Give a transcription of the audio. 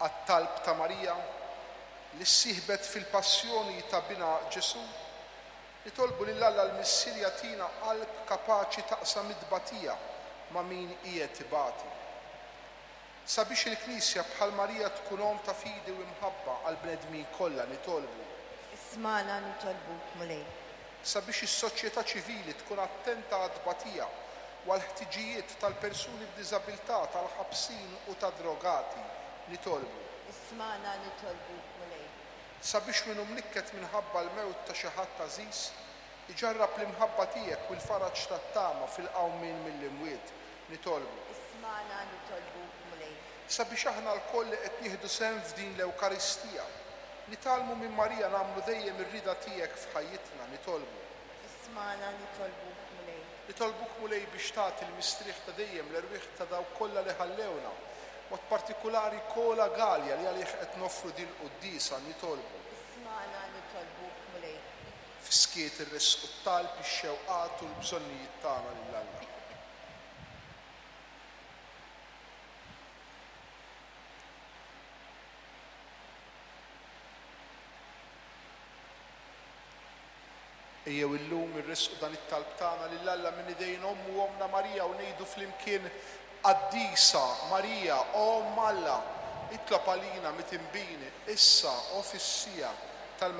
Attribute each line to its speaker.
Speaker 1: Għat-talb ta' Marija, li ssieħbet fil-passjoni ta' Binha Ġesù, nitolbu lil Alla l-Missier jagħtina qalb kapaċi taqsam it-tbatija ma' min qiegħed ibati. Sabiex il-Knisja bħal Marija tkun omm ta' fidi u imħabba għall-bnedmin kollha nitolbu.
Speaker 2: Ismagħna nitolbuk, Mulej.
Speaker 1: Sabiex is-soċjetà ċivili tkun attenta għat-tbatija u għall-ħtiġijiet tal-persuni b'diżabilità, tal-ħabsin u tad-drogati, nitolbu.
Speaker 2: Ismagħna nitolbuk, Mulej.
Speaker 1: Sabiex min hu mnikket minħabba l-mewt ta' xi ħadd għażiż, iġarrab l-imħabba tiegħek u l-faraġ tat-tama fil-qawmien mill-imwiet, nitolbu.
Speaker 2: Ismagħna nitolbuk, Mulej.
Speaker 1: Sabiex aħna lkoll li qed nieħdu sehem f'din l-Ewkaristija, nitgħallmu minn Marija nagħmlu dejjem ir-rieda tiegħek f'ħajjitna, nitolbu.
Speaker 2: Ismagħna nitolbuk, Mulej.
Speaker 1: Nitolbuk, Mulej, biex tagħti l-mistrieħ ta' dejjem l-erwieħ ta' dawk kollha li ħallewna, b'mod partikulari Kola Galea li għalih qed noffru din il-quddiesa, nitolbu.
Speaker 2: Ismagħna nitolbuk, Mulej.
Speaker 1: Fis-skiet irressqu t-talb, ix-xewqat u l-bżonnijiet tagħna lil Alla. Ejjew illum irressqu dan it-talb tagħna lil Alla minn idejn Ommu Ommna Marija u ngħidu flimkien, Qaddisa Marija, Omm Alla, itlob għalina mitinbin, issa u fis-siegħa.